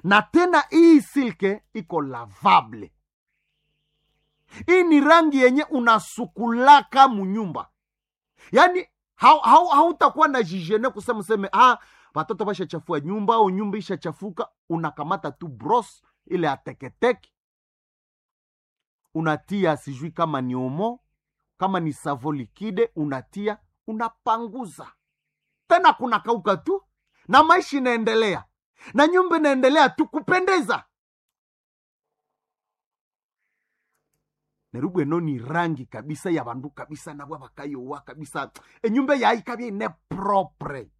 Na tena hii silke iko lavable. Hii ni rangi yenye unasukulaka munyumba, yaani hautakuwa na jijene kusema useme watoto bashachafua nyumba au nyumba ishachafuka. Unakamata tu bros ile ateketeke, unatia sijui kama ni omo, kama ni savo likide, unatia unapanguza tena, kuna kauka tu na maisha inaendelea na nyumba inaendelea tu kupendeza. Nerubwe eno ni rangi kabisa ya bandu kabisa nabwa bakayowa kabisa, enyumba yaikabya ine propre,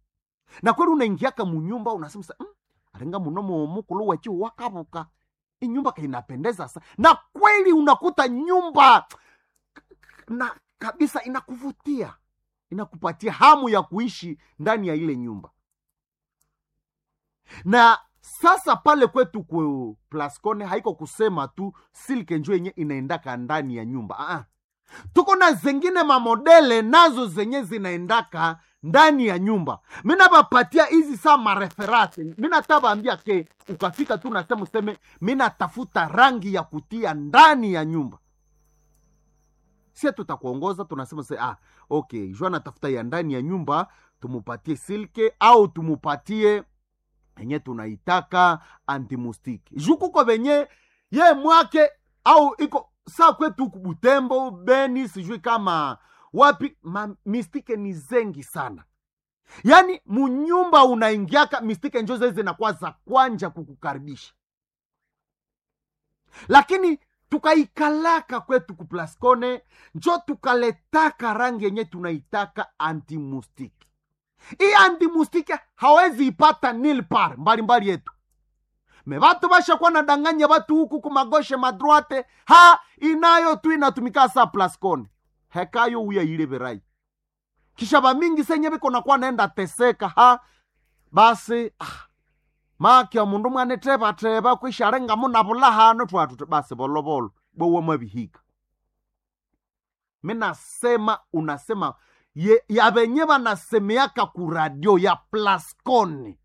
na kweli unaingiaka munyumba unasema sa, arenga muno mukulu wechi wakabuka, inyumba kainapendeza sa, na kweli unakuta nyumba na kabisa inakuvutia, inakupatia hamu ya kuishi ndani ya ile nyumba. Na sasa pale kwetu ku Plascone haiko kusema tu silke njo yenye inaendaka ndani ya nyumba. Tuko na zengine mamodele nazo zenye zinaendaka ndani ya nyumba. Mina bapatia hizi saa mareferate, mina tabaambia ke ukafika tu nasema useme mina tafuta rangi ya kutia ndani ya nyumba, sie tutakuongoza, tunasema se, okay, jua natafuta ya ndani ya nyumba, tumupatie silke au tumupatie enye tunaitaka antimustiki juu kuko venye ye mwake au iko saa kwetu huku Butembo, Beni, sijui kama wapi, ma mistike ni zengi sana. Yaani munyumba unaingiaka mistike njo zezi zinakuwa za kwanja kukukaribisha, lakini tukaikalaka kwetu ku Plascone njo tukaletaka rangi yenye tunaitaka antimustiki. Hii antimustiki hawezi ipata nil par mbalimbali yetu me vatu vashakuwa nadanganya vatu huku kumagoshe madroite ha inayo tu inatumika sa Plascone hekayo uya ile verai kisha vamingi senye viko nakuwa naenda teseka ha basi makya mundu mwane teba teba kwisharenga munavula hano twatu basi volovolo bowe mwavihika. Minasema unasema ye, ya venye vanasemeaka ku radio ya Plascone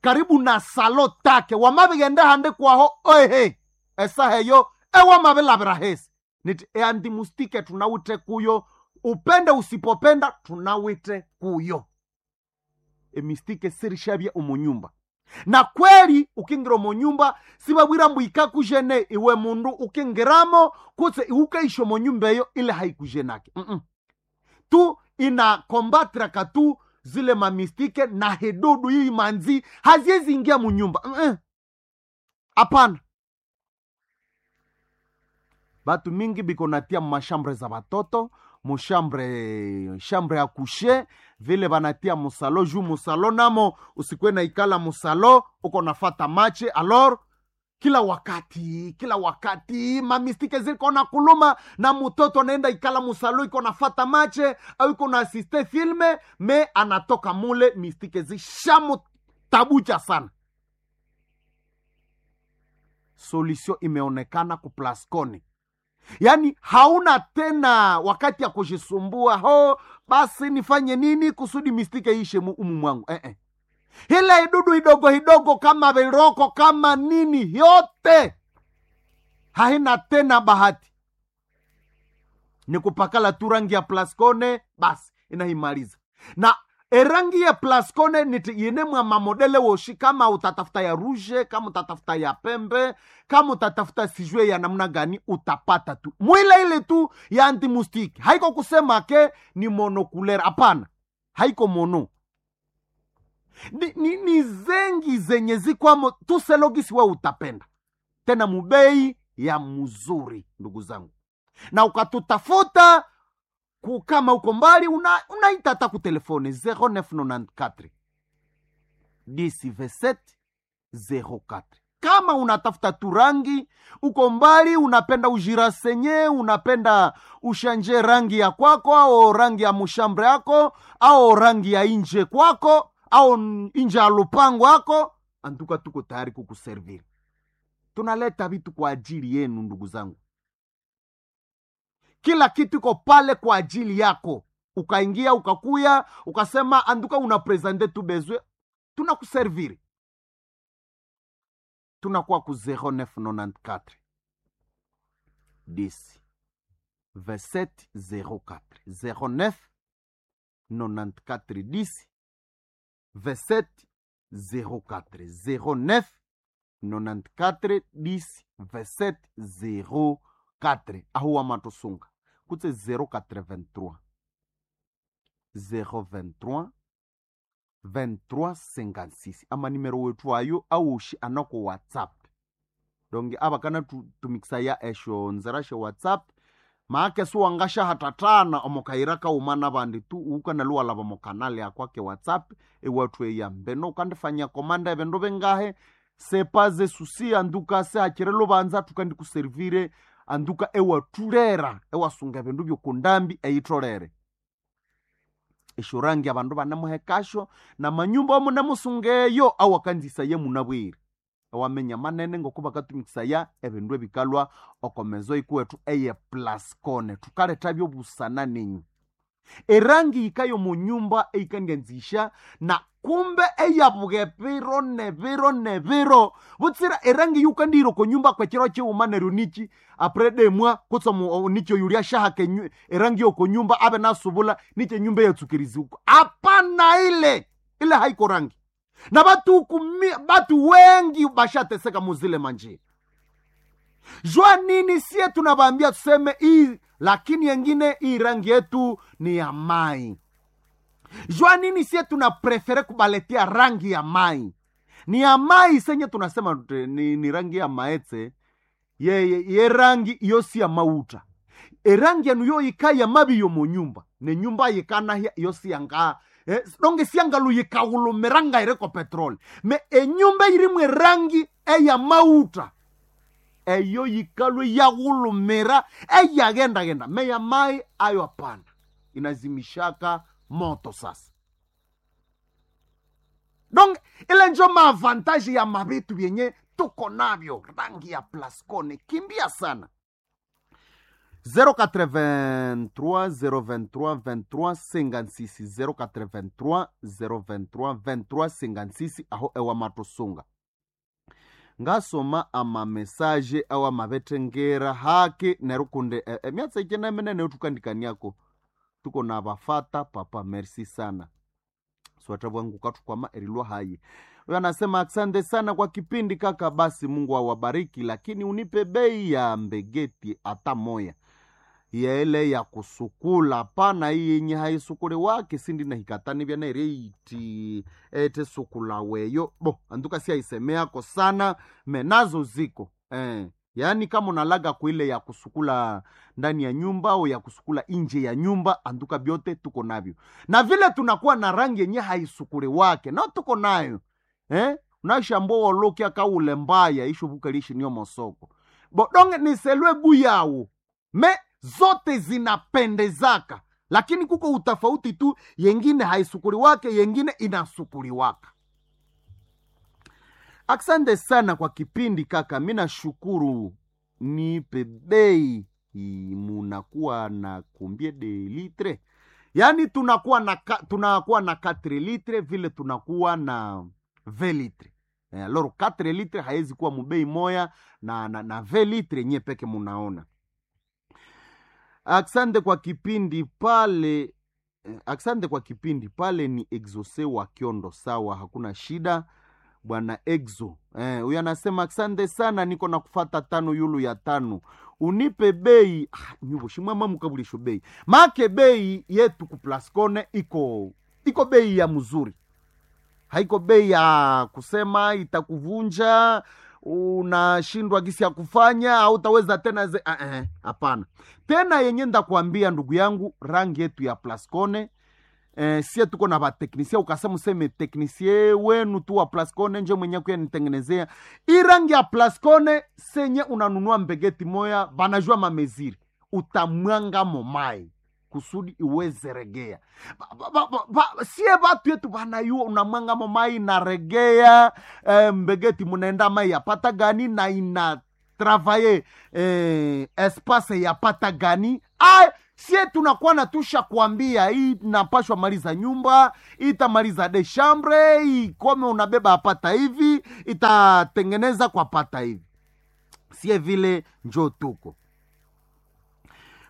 karibu na salo take wamavigende hande kwaho oehe esaheyo ewamavilavira hesi niti eandimustike tunawite kuyo, upende usipopenda tunawite kuyo. Emistike sirishavya umunyumba, na kweli ukingira omunyumba sibabwira mbu ikakujene iwe mundu ukingiramo kutse iukaisha omunyumba eyo ile haikujenake. Tu ina kombatraka tu zile mamistike na hedudu hii manzi haziwezi ingia munyumba. Hapana, batu mingi biko natia mashambre za batoto mushambre, shambre ya kushe vile banatia musalo juu musalo namo usikwe na ikala musalo uko nafata mache alor kila wakati, kila wakati mamistike ziko na kuluma na mutoto anaenda ikala musalo iko nafata mache au iko na asiste filme me anatoka mule mistike zishamu tabucha sana. Solution imeonekana ku Plascone, yaani hauna tena wakati ya kujisumbua ho basi nifanye nini kusudi mistike ishe umu mwangu. Ile idudu idogo idogo kama viroko kama nini yote haina tena bahati, ni kupakala tu rangi ya Plascone basi inaimaliza. Na erangi ya Plascone niti yine mwa mamodele woshi, kama utatafuta ya rouge, kama utatafuta ya pembe, kama utatafuta sijue ya namna gani utapata tu mwile ile tu ya antimustiki. Haiko kusema ke ni monokulera, hapana, haiko mono ni zengi zenye zikwamo tuselogisi we utapenda tena mubei ya mzuri, ndugu zangu, na ukatutafuta kama uko mbali unaita hata ku telefone 0994 10 27 04. Kama unatafuta turangi uko mbali, unapenda ujirasenye, unapenda ushanje rangi ya kwako au rangi ya mushambre yako au rangi ya inje kwako au inje ya lupango yako, antuka tuko tayari kukuserviri. Tunaleta vitu kwa ajili yenu ndugu zangu, kila kitu iko pale kwa ajili yako. Ukaingia ukakuya ukasema anduka una presente tu bezwe, tunakuserviri. Tunakuwa ku 0994 10 27 04, 09 94 10 27 04, 09 94 10 27 04. Aho wamatosunga kutse 083 023 23 56, amanimero wetu ayo awoshi anako WhatsApp. Donge abakana tumikisa ya esho nzera she WhatsApp, maake siwangashahatatana omokayira kauma nabandi tu ukanaluwalaba mokanale akwake WhatsApp ewathu eya mbeno ukandifanya komanda ebindu bingahe sepaze susi anduka sehakire lubanza tukandikuservire anduka ewathulera ewasunga ebindu byokundambi eyitholere esyorangi abandu banemuhekasyo namanyumba amunemusungeyo awakanzisaya munabwire ewamenya manene ngoko bakatumikisaya ebindu ebikalwa okomezo ikuwethu eye Plascone. Thukaletha byobusana ninyu erangi yikayo munyumba eyikandyanzisha na kumbe eyabuga ebiro nebiro nebiro butsira erangi yukandihira okonyumba kwekiro kighuma neryo niki apre demwa kutse niki oyuli ashahaka erangi yokonyumba abe nasubula niki enyumba eyatsukirizibwa. Apana, ile ile haiko rangi na batu batu wengi bashateseka muzile manjia. Jua nini sie tunabambia tuseme hii, lakini yengine hii rangi yetu ni ya mai. Jua nini sie tuna prefere kubaletea rangi ya mai, ni ya mai senye tunasema ni rangi ya maetse ye, ye rangi iyo si ya mauta. Erangi yanu yo yika ya mabi yo munyumba ne nyumba yikanahya iyo si yanga donge siangalu yikahulumiranga ireko petroli me enyumba irimwe rangi eya mauta eyo yikalwe yaghulumira eyagendagenda meya mai ayo hapana, inazimishaka moto. Sasa donc ile njo maavantaji ya mavitu vyenye tuko navyo. Rangi ya Plascone kimbia sana 083 023 23 56, 083 023 23 56 aho ewa matosunga ngasoma amamesaje awa mabetengera haki nerukunde emyatsa ikena minene tukandikaniako tuko na bafata papa merci sana swata bwangu katukwama erilwa hayi. Huyo anasema asante sana kwa kipindi kaka, basi Mungu awabariki, lakini unipe bei ya mbegeti hata moya yele ya kusukula pana iyi yenye haisukule wake sindi na hikatani vyana iti ete sukula weyo bo anduka si aisemeako sana menazo ziko yaani kama unalaga kuile ya kusukula ndani ya nyumba au ya kusukula nje ya nyumba, anduka vyote tuko navyo, na vile tunakuwa na rangi yenye haisukule wake na tuko nayo unashambo wolokia kaule mbaya ishubukalishi niyo mosoko bodonge niselwe buyawo me zote zinapendezaka, lakini kuko utafauti tu, yengine haisukuliwake, yengine inasukuliwaka. Asante sana kwa kipindi kaka, mi nashukuru. Nipe bei munakuwa na kumbie de litre, yaani tunakuwa na tunakuwa na 4 litre vile tunakuwa na 20 litre. Alors 4 litre haiwezi kuwa mubei moya na 20 litre nye peke munaona. Asante kwa kipindi pale, asante kwa kipindi pale. Ni Exose wa Kiondo, sawa, hakuna shida bwana Exo. Huyu anasema asante sana, niko na kufata tano yulu ya tano, unipe bei nyuvo shimwama mukabulisho bei make bei yetu ku Plascone iko bei ya mzuri, haiko bei ya kusema itakuvunja unashindwa gisi ya kufanya au utaweza tena ze hapana. Tena yenye ndakwambia ndugu yangu, rangi yetu ya Plascone sie tuko na bateknisie, ukasema useme teknisie wenu tu wa Plascone nje mwenye kuya nitengenezea i rangi ya Plascone senye unanunua mbegeti moya banajua mameziri utamwanga momai kusudi iweze regea. Sie batu yetu banayua unamwanga momai na regea mbegeti munaenda mai yapata gani na ina travailler espace yapata gani. Sie tunakuwa na tusha kuambia hii napashwa maliza nyumba, itamaliza de chambre, ikome unabeba apata hivi, itatengeneza kwa pata hivi. Sie vile njo tuko.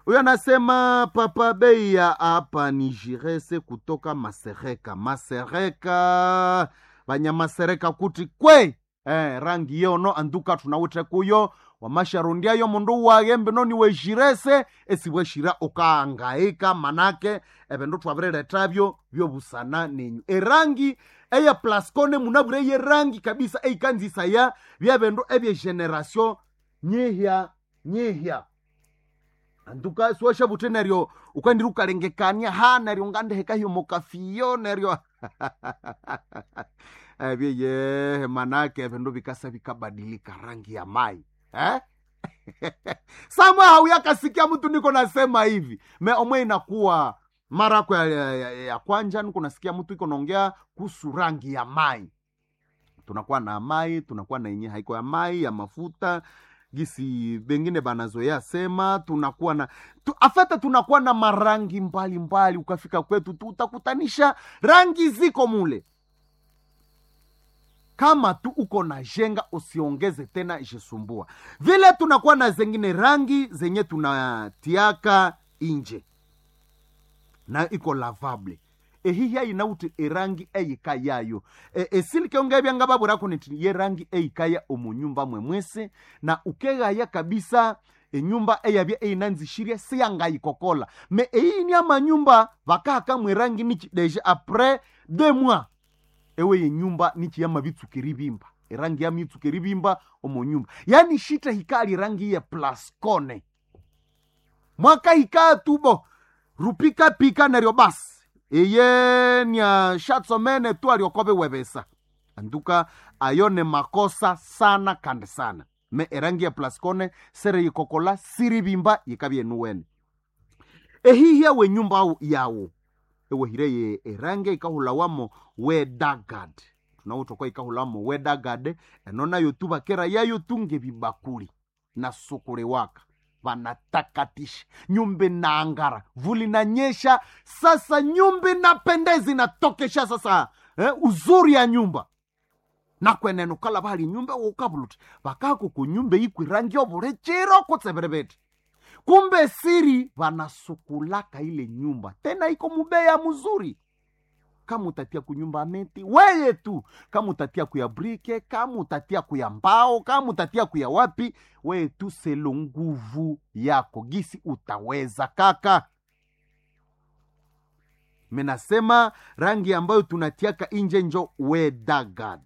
Huyo anasema papa bei ya hapa ni jirese kutoka Masereka. Masereka banyamasereka kuti kwe rangi yono anduka tunawite kuyo wamasharundiayo mundu waghembe noni wejirese esiweshira ukaangaika manake ebindu twabireretavyo byobusana nenyu erangi eya plascone munabwire yerangi kabisa eikanzisaya byebindu ebye generation nyihya nyihya anduka siwashavute neryo ukandira ukalengekania ha neryo ngandihekahiyo mokafiyo neryo ebyeye manake ebindu bikasa bikabadilika rangi ya mai eh? Samwe hauyakasikia mtu niko nasema hivi me omwe inakuwa mara kwa ya kwanja niko nasikia mtu iko naongea kuhusu rangi ya mai. Tunakuwa na mai, tunakuwa na yenye haiko ya mai ya mafuta gisi bengine banazoea sema tunakuwa na afata tunakuwa na marangi mbalimbali mbali. Ukafika kwetu tu utakutanisha rangi ziko mule. Kama tu uko na jenga usiongeze tena jisumbua. Vile tunakuwa na zengine rangi zenye tunatiaka inje na iko lavable ehihya inauti erangi eyika yayo esilike ongebyanga baburaku niti ye rangi eyikaya omunyumba mwemwese na ukegaya kabisa enyumba eyabya eyinanzishirye siyangayikokola me eyini amanyumba vakahaka mwerangi nichi deja après 2 mois ewe yenyumba nichi yamabitsuka eribimba erangi yamitsuka eribimba omunyumba yani shita hikali rangi ye plascone mwaka hikaa tubo rupika pika neryo basi iye nya shatsomene tu aliokobe webesa anduka ayo ne makosa sana kandi sana me erangi ya plascone sere yikokola siribimba yikabye nuwene ehihya we nyumba yawo ewehire erangi ikahulawamo wedagad tunawotokwa ikahulawamo wedagad eno nayo tu bakera yayo tunge bibakuli na sukule waka vanatakatisha nyumba inaangara vuli nanyesha sasa nyumba inapendeza inatokesha sasa uzuri ya nyumba nakwenene ukala vali nyumba ukavuluti vakako kunyumba ikwirangi ovulechero kutseverevethe kumbe siri vanasukulaka ile nyumba tena iko mubeya muzuri kama utatia kunyumba meti weye tu, kama utatia kuya brike, kama utatia kuya mbao, kama utatia kuya wapi, weye tu selo nguvu yako gisi utaweza kaka. Menasema rangi ambayo tunatiaka inje njo wedagad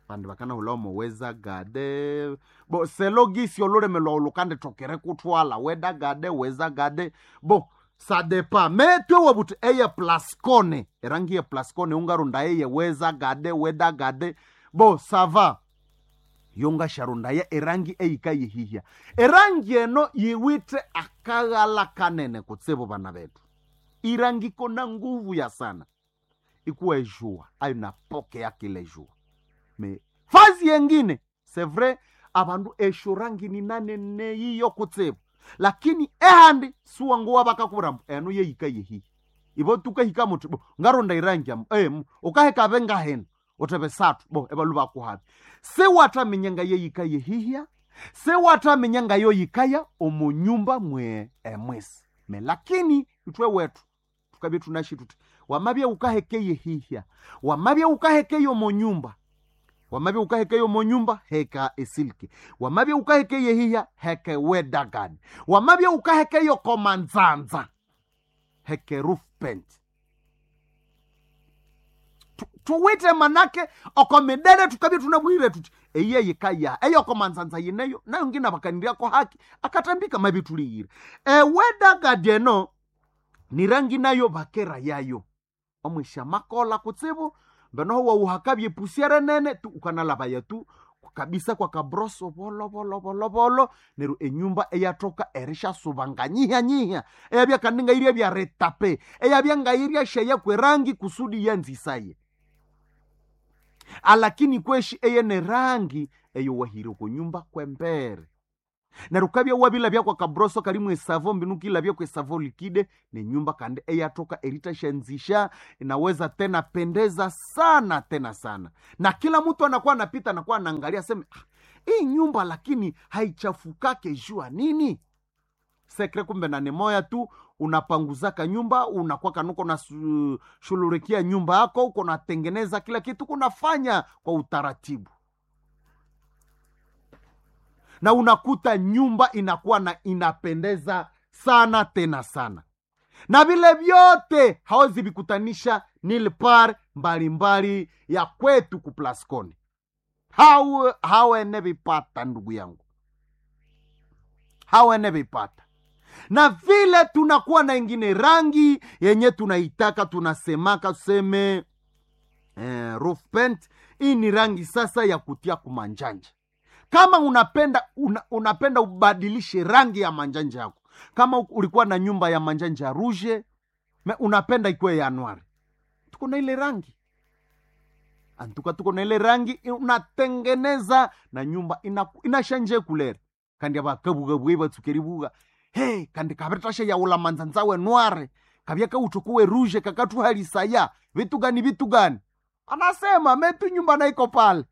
vandu vakana ulomo wezagade bo selo gisi olulemelwa ulukande tokere kutwala wedagade wezagade bo sadepa metwe wabuti eye plascone erangi ye plascone ungarunda eye wezagade wedagade bo sava yongasharundaya erangi eyika yihihya erangi eno yiwite akaghala kanene kutsibu vana vetu irangi kona nguvu ya sana ikuwa ejua ayo napokea kile jua me fazi yengine c'est vrai abandu esho rangi ni nanene yiyo kutsibu lakini ehandi suwanguwa bakakubura eno yeyika yehihi ibo tukahika muti bo ngaronda irangi amu ukaheka bengahena utebe satu bo ebalu bakuhabi sewataminya nga yeyika yehihya sewataminya nga yoyikaya omunyumba mwe emwesi me lakini itwe wetu tukabye tunashi tuti wamabye ukaheke yehihya wamabye ukaheke omunyumba wamabye ukaheke omunyumba heka esilke wamabye ukaheke yehihya heke wedagani wamabye ukaheke yokomanzanza heke roof paint tuwite manake okomidere tukabye tunabwire tuti eye yikaya eyo komanzanza yineyo nayo ngina bakaniriako haki akatambika mabi tuliyire ewedagadi eno ni rangi nayo bakera yayo omwisha makola kutsibu mbenoho wauhakabye pusiere nene tu ukanalabaya tu kabisa kwa kabroso bolo bolo bolo bolo neru enyumba eyatoka erishasuba nyiha nyiha eyabya kandi ngairia bya retape eyabya ngairia sheya kwerangi kusudi yanzisaye alakini kweshi eye ne rangi eyo wahire kunyumba kwembere Neryo ukabya wabilabya kwa kabroso kalimu esavo mbinu ukilabya kwa esavo likide nenyumba kandi eyatoka eritashanzisha inaweza tena pendeza sana tena sana, na kila mtu anakuwa anapita anakuwa anaangalia aseme, ah, hii nyumba lakini haichafukake jua nini? Sekre kumbe na ni moya tu, unapanguzaka nyumba, unakuwa kanuko na shululikia nyumba yako, uko natengeneza kila kitu, kunafanya kwa utaratibu, na unakuta nyumba inakuwa na inapendeza sana tena sana, na vile vyote hawezi vikutanisha nilpar mbalimbali ya kwetu ku Plascon. Hawene vipata ndugu yangu, hawene vipata. Na vile tunakuwa na ingine rangi yenye tunaitaka, tunasemaka tuseme roof paint. Hii ni rangi sasa ya kutia kumanjanja. Kama unapenda unapenda ubadilishe rangi ya manjanja yako, kama ulikuwa na nyumba ya manjanja ya rouge me unapenda ikuwe ya noir, tuko na ile rangi antuka, tuko na ile rangi unatengeneza na nyumba inashanje kulera kandi abakabugabwe batsukeribuga hey, kandi kabitasha yaula manzanza we noir kabya kautukuwe rouge kakatuhalisaya vitu gani vitu gani, anasema metu nyumba na iko pale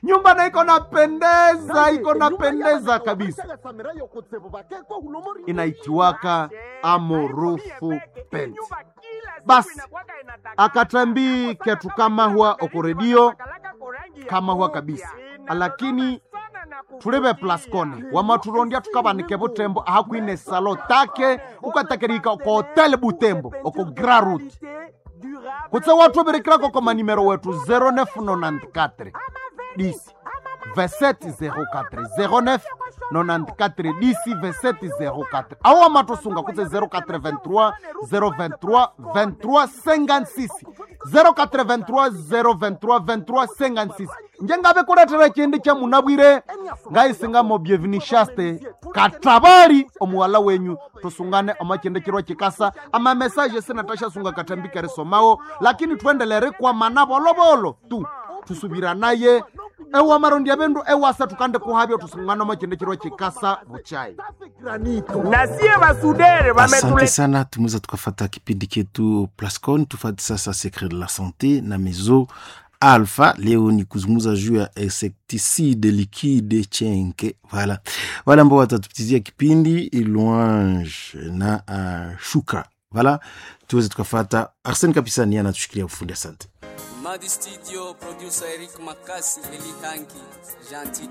nyumba na iko napendeza, iko napendeza kabisa, inaitiwaka amorufu pent. Basi akatambi ketu kamahwa okoredio kamahwa kabisa, lakini tulebe Plascone wamaturondya tukabanike butembo ahakwine salo take ukatakerika oko hotel Butembo oko Grand Route kutse watuberekirako koma nimero wetu 0994 10 2704 09 94 10 2704 awo amatosunga kutse 083 023 23 56 083 023 23 56 njengabe kuletera chindi cha munabwire ngaisingamo bienvenue shaste katabari omuwala wenyu tusungane omachende chirwa chikasa ama message sinatashasunga katambika risomawo lakini tuendelere kwa mana bolobolo tu tusubira naye ewa marondi abendu ewasa tukande kuhabyo tusungane omachende chirwa chikasa buchai nasie basudere Asante sana, tumeweza tukafata kipindi chetu Plascon. Tufate sasa secret de la sante na mezo Alpha. Leo ni kuzungumza juu ya insecticide liquide chenke. Voilà, wale ambao watatupitizia kipindi Louange na Shukra. Voilà, tuweze tukafata. Arsene Kapisani anatushikilia ufundi. Asante. Madi Studio, producer Eric Makasi, Eli Tanki, Gentil